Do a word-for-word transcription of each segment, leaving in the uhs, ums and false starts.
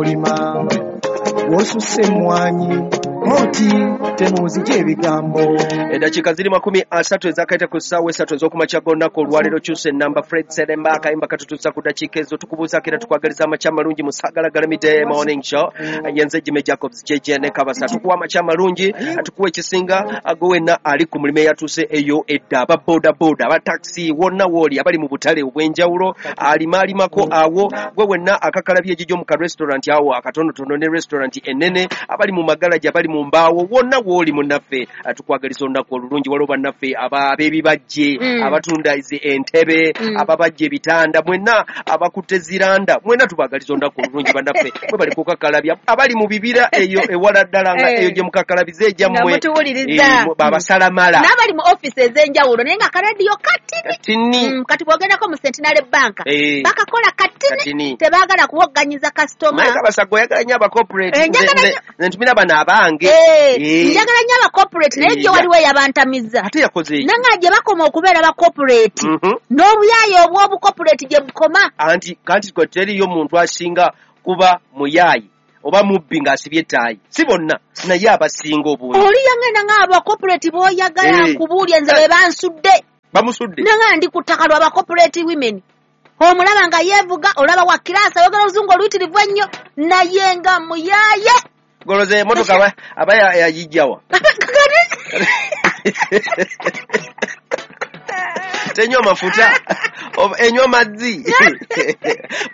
Olima wosusse emmwanyi oti temuuzije ebigambo. Eddakiika ziri makumi asatu ezakaita ku ssaawa esatu ez'okumakya g'olunaku olwaleero. Kyusa ennamba, Fred Seremba akayimba katutuusa ku ddakiika ezo. Tukubuuzaako era tukwagaliza amakya amalungi mu Saagalagalamidde Morning Show. Yenze Jimmy Jacobs J J ne Kabasa. Tukuwa amakya amalungi, tukuwa ekisinga gwe wenna ali ku mulimu eyatuuse eyo edda, aba boda boda, aba taxi, wonna wooli, abali mu butale obw'enjawulo, alimaalimako awo, gwe wenna akakalabye egigyo mu ka restaurant awo akatonotono ne restaurant ennene, abali mu magalaji, abali mu mbaawo, wonna wooli munnaffe, tukwagaliza olunaku olulungi. Waliwo bannaffe ab'ebibajje Mm. abatunda zi entebe, Mm. ababajja ebitanda, mwenna abakutte ziranda, mwenna tubagaliza olunaku olulungi bannaffe. Mwe bali kukakalabya, abali mu bibira eyo ewala ddala nga Eh. eyo gye mukakalabiza nga egyammwe, mutuwuliriza. Eh, babasalamala n'abali mu offisi ez'enjawulo naye nga karediyo katini. Katini. Mm, kati bw'ogendako mu Centenary Bank, Eh. bakakola katini, Katini. tebaagala kuwogganyiza kasitoma. Naye Kabasa, gwe oyagala nnyo abacorporate. Eh, njagala nnyo. Nze ntumira bano abange. Eh, Eh. njagala nnyo abacorporate, naye Eh, gye waliwo eyabantamiza. Ate yakoze eki? Nanga gye bakoma okubeera bacorporate Mhm. n'obuyaaye obw'obucorporate gye bukoma. Anti kanti kwe teriyo muntu asinga kuba muyaayi oba mubbi ng'asibye ettaayi. Si bonna, naye abasinga obungi. Oli yangenda nga abacorporate b'oyagala, Eh. nkubuulye nze be bansudde. Bamusudde. Nanga ndi ku ttaka lwa bacorporate women, omulaba nga yeevuga, olaba wa kirasi, ayogera oluzungu oluyitirivu ennyo, naye nga muyaaye. Goloza emotoka aba- aba ya- yagijjawa? Tenywa mafuta oba enywa mazzi?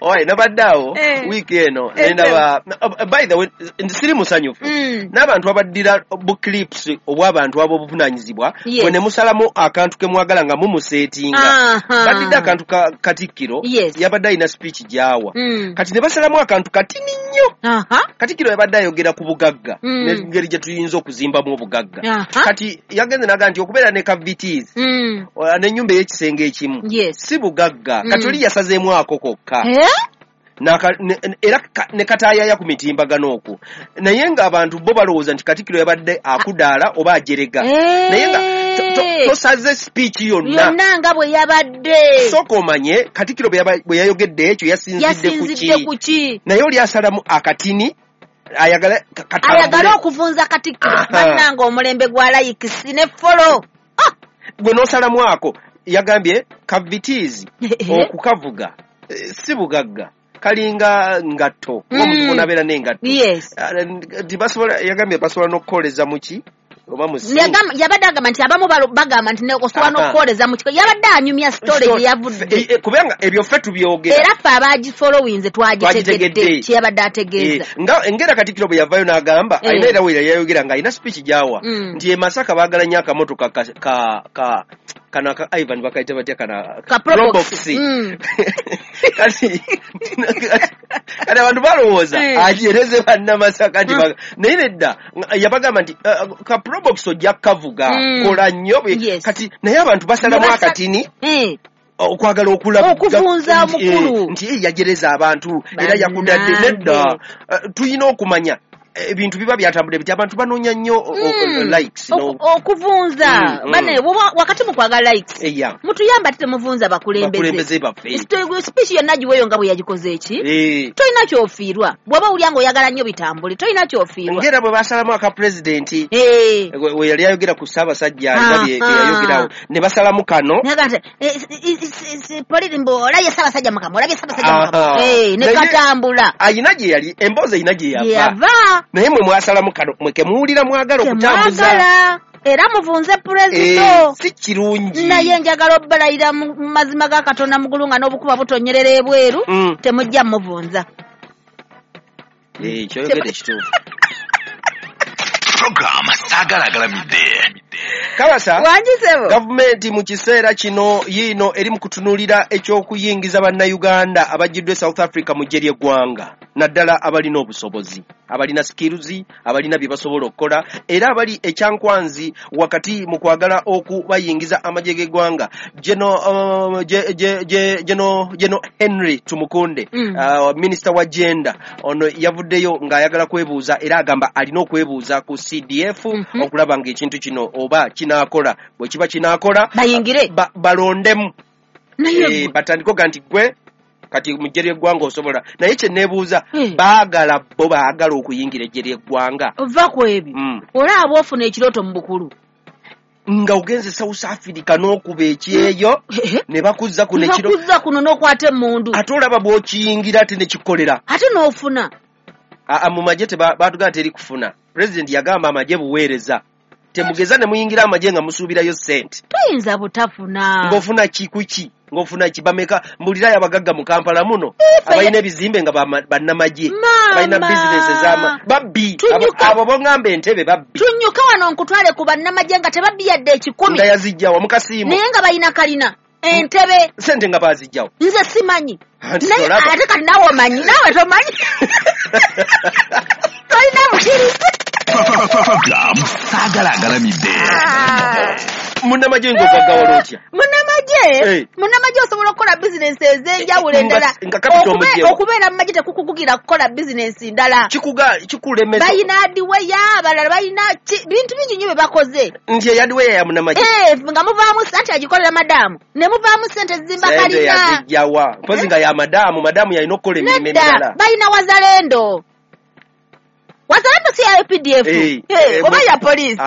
Oye, nabadde awo Eh. wiiki eno Eh, nendaba, by the way, siri musanyufu Mm. n'abantu abaddira bu clips obw'abantu ab'obuvunaanyizibwa, Yes. bwe ne musalamu akantu ke mwagala nga mumuseetinga. Aha. Baddidde akantu ka Katikkiro, Yes. yabadde alina speech gy'awa, Mm. kati ne basalamu akantu katini nnyo. Aha. Katikkiro yabadde ayogera ku bugagga Mm. n'engeri gye tuyinza okuzimbamu obugagga. Aha. Kati yagenze naga nti okubeera ne ka Vitz Mm. n'ennyumba ey'ekisenge ekimu Yes. si bugagga. Mm. Kati oli yasazeemu ako kokka. Eh? N'aka- ne- ne- era ka- ne kataayaya ku mitimbagano okwo, naye ng'abantu bo balowooza nti Katikkiro yabadde akudaala oba ajerega, Eh. naye nga to- to- tosaze speech yonna. Yonna nga bwe yabadde. Sooka omanye Katikkiro bwe yaba- bwe yayogedde ekyo yasinzidde ku yasinzidde ki? ku ki? Naye oli asalamu akatini ayagala ka- katambule. Ayagale okuvunza Katikkiro. Aha. Bannanga, omulembe gwa likes ne follow. Ah! Gwe n'osalamu ako. Yagambye ka Vitz okukavuga eh, si bugagga, kalinga ngatto. Mm. Omuntu bonabeera n'engatto. Yes. Ah, nti basobola, yagambye basobola n'okukoleza muki oba mu sink. Yagamba- yabadde agamba nti abamu balo- bagamba nti ne- osobola Aha. n'okukoleza mu kiko. Yabadde anyumya story gye yavudde. Eh, eh, kubanga ebyo ffe tubyogera. Era ffe abagifollowinze twagitegedde Twagitegedde. kyeyabadde ategeeza. Eh, nga engera Katikkiro bwe yavaayo n'agamba, Eh. alina era we yayogera ng'alina speech gy'awa Mm. nti e Masaka baagala nnyo akamotoka ka, ka, ka kano aka Ivan bakayita batya kana? Ka Probox. Probox. Mm. kati kati abantu balowooza Eh. ajereze bannamasaka nti Mm. baga- naye nedda, nga- yabagamba nti uh, ka Probox ojja kukavuga, Mm. kola nnyo bwe- Yes. Kati naye abantu basalamu Ne basa- akatini Eh. okwagala okulaga Okuvunza nti, eh, omukulu. nti eh, yajereza abantu era yakudadde. Bannange. Nedda. Eh, tulina okumanya ebintu biba byatambudde biti. Abantu banoonya nnyo o- o- Mm. likes no- Oku- okuvunza Mm, mm. Bane, bw'oba- wakati mu kwagala likes, Eya. mutuyamba ate temuvunza bakulembeze. Bakulembeze baffe. Sto- speech yonna giweeyo nga bwe yagikoze eki. Eh, Tolina kyofiirwa bw'oba owulya ng'oyagala nnyo bitambule, tolina kyofiirwa. Ngera bwe basalamu aka pulezidenti Eh. we we yali ayogera ku Ssaabasajja, alina bye bye Aha. yayogerawo ne basalamu kano. Naga nti, eh, eh, eh, eh, poliri mbu olabye Ssaabasajja mukama, olabye Ssaabasajja mukama. Aha. Eh, ne Naye- katambula. Ayina gye yali emboozi, erina gye gye yava, yava. naye mwe mwasalamu kano mwe kemuwulira mwagala okutambuza. Temwagala era muvunze Eh, pulezidento. si kirungi. Naye njagala obbalayira mu mu mazima ga Katonda mugulu nga n'obukuba butonyerera ebweru, Mm. temujja muvunza. Eh, kyoyogedde kituufu. Program Saagalagalamidde. Kabasa, Wangisebo. gavumenti mu kiseera kino yiino eri mu kutunuulira eky'okuyingiza bannayuganda abajjiddwa e South Africa mu ggye ly'eggwanga, naddala abalina obusobozi, abalina skills, abalina bye basobola okukola era abali ekyankwanzi wakati mu kwagala okubayingiza amagye g'eggwanga. Geno uh, Je- Je- Je- Geno Geno Henry Tumukunde, Mm. uh, minisita wa gender, ono yavuddeyo ng'ayagala kwebuuza era agamba alina okwebuuza ku C D F Mhm. okulaba ng'ekintu kino oba kinaakola. Bwe kiba kinaakola, Bayingire. ba, balondemu. Naye Eh, batandike oga nti gwe Kati mu ggye ly'eggwanga osobola, naye kye neebuuza, Eh. baagala bo baagala okuyingira eggye ly'eggwanga. Ova ku ebyo. Mm. Olaba ofuna ekirooto mu bukulu. Nga ogenze South Africa n'okuba ekyeyo, ne bakuzza kuno ekiro. Bakuzza kuno n'okwata emmundu. Ate olaba bw'okiyingira ate ne kikolera. Ate n'ofuna. Aa, mu magye batugamba teri kufuna. Pulezidenti yagamba amagye buweereza. Temugeza ne muyingira amagye nga musuubirayo ssente. Toyinza butafuna. Ng'ofuna ki ku ki? Ng'ofuna ki? Bameka mbulirayo abagagga mu Kampala muno abalina ebizimbe nga bannamagye, balina bizinesi ez'ama babbi. Abo bongamba entebe babbi. Tunyuka wano nkutwale ku bannamagye nga tebabbi yadde ekikumi. Nga yazijjawa mu kasiimo. Naye nga balina kalina entebe. Ssente nga baazijjawa. Nze simanyi. Naye ate kati naawe omanyi, naawe tomanyi. Tolina bukirizi. Saagala agalamidde. Munnamagye ng'ogaggawala otya? Munnamagye, munnamagye osobola okukola bizinensi ez'enjawulo endala. Okubeera mu magye tekukukugira kukola bizinensi ndala. Kikulemesa. Balina hardware, abalala balina bintu bingi nnyo bye bakoze. Nti hardware ya munnamagye. Eh, nga muvaamu ssente agikolera madaamu. Ne muvaamu ssente zizimba kalina. Ssente yazijjawa. Mpozi nga ya madaamu, madaamu yalina okukola emirimu emirala. Nedda, balina wazalendo. Wazalendo si ya U P D F. Oba ya poliisi.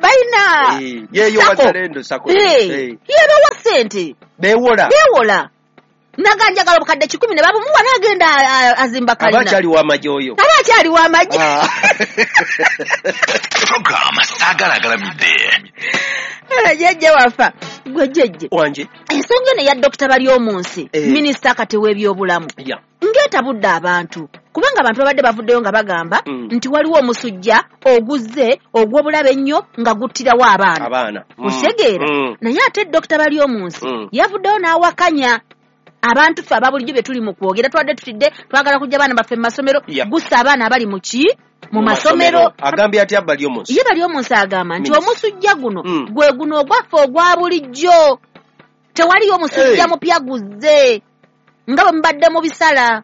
Balina yeyo wazalendo sako. Yebawa ssente. Beewola. Beewola. Naga njagala obukadde kikumi ne babumuwa n'agenda azimba kalina. Aba akyali w'amagye oyo. Aba akyali w'amagye. Program Saagala agalamidde. Jjajja wafa. Gwe jjajja. Wanje. Ensonga eno eya Dokita Baryomunsi, minisita kati w'ebyobulamu. Ng'etabudde abantu. Kubanga abantu babadde bavuddeyo nga bagamba nti waliwo omusujja oguzze ogw'obulabe ennyo nga guttirawo abaana. Abaana. Otegeera. Naye ate Dokita Baryomunsi yavuddeyo n'awakanya abantu ffe aba bulijjo bye tuli mu kwogera, twadde tutidde twagala kujja abaana baffe mu masomero, gussa abaana abali mu ki? Mu masomero. Agambye atya Baryomunsi? Ye Baryomunsi agamba nti omusujja guno gwe guno ogwaffe ogwa bulijjo. Tewaliyo omusujja mupya guzze nga bwe mubadde mu bisala.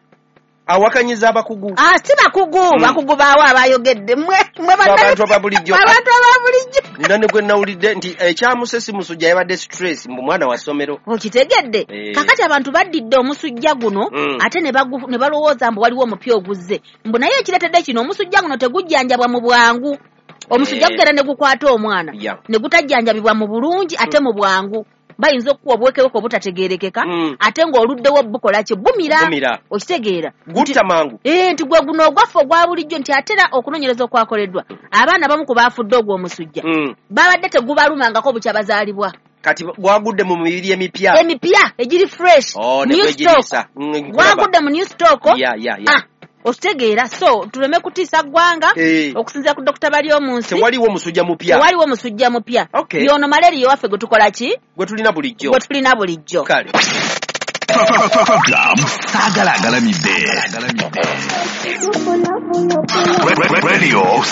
Awakanyiza abakugu. Ah, si bakugu, mm. Bakugu baawo abayogedde. Mwe mwe abantu aba bulijjo. Abantu aba bulijjo. Nina ne gwe nawulidde nti ekyamusesi musujja yabadde stress mbu mwana wa ssomero. Okitegedde. E. Kakati abantu baddidde omusujja guno mm. ate ne ne balowooza mbu waliwo omupya oguzze. Mbu naye ekireetedde kino omusujja guno tegujjanjabwa mu bwangu. Omusujja e. gugenda ne gukwata omwana. Yeah. Ne gutajjanjabibwa mu bulungi ate mm. mu bwangu. Bayinza okuwa obwekeweko obutategeerekeka mm. ate ng'oluddewo bukola ki? Bumira. Bumira. Okitegeera. Gutta mangu. Eh, nti gwe guno ogwaffe ogwa bulijjo nti ate era okunoonyereza okwakoleddwa abaana abamu ku baafudde ogw'omusujja mm. babadde tegubalumangako bukya bazaalibwa. Kati gwagudde mu mibiri emipya. Emipya egiri fresh. Oh, new stock. Mm, gwagudde mu new stock. Yeah, yeah, yeah. Ah. Okitegeera. So tuleme kutiisa ggwanga hey. okusinziira ku Dokita Baryomunsi. Tewaliwo musujja mupya. Tewaliwo musujja mupya. Okay. Yono malaria waffe gwe tukola ki? Gwe tulina bulijjo. Gwe tulina bulijjo. Kale. Program Saagala agalamidde. Radio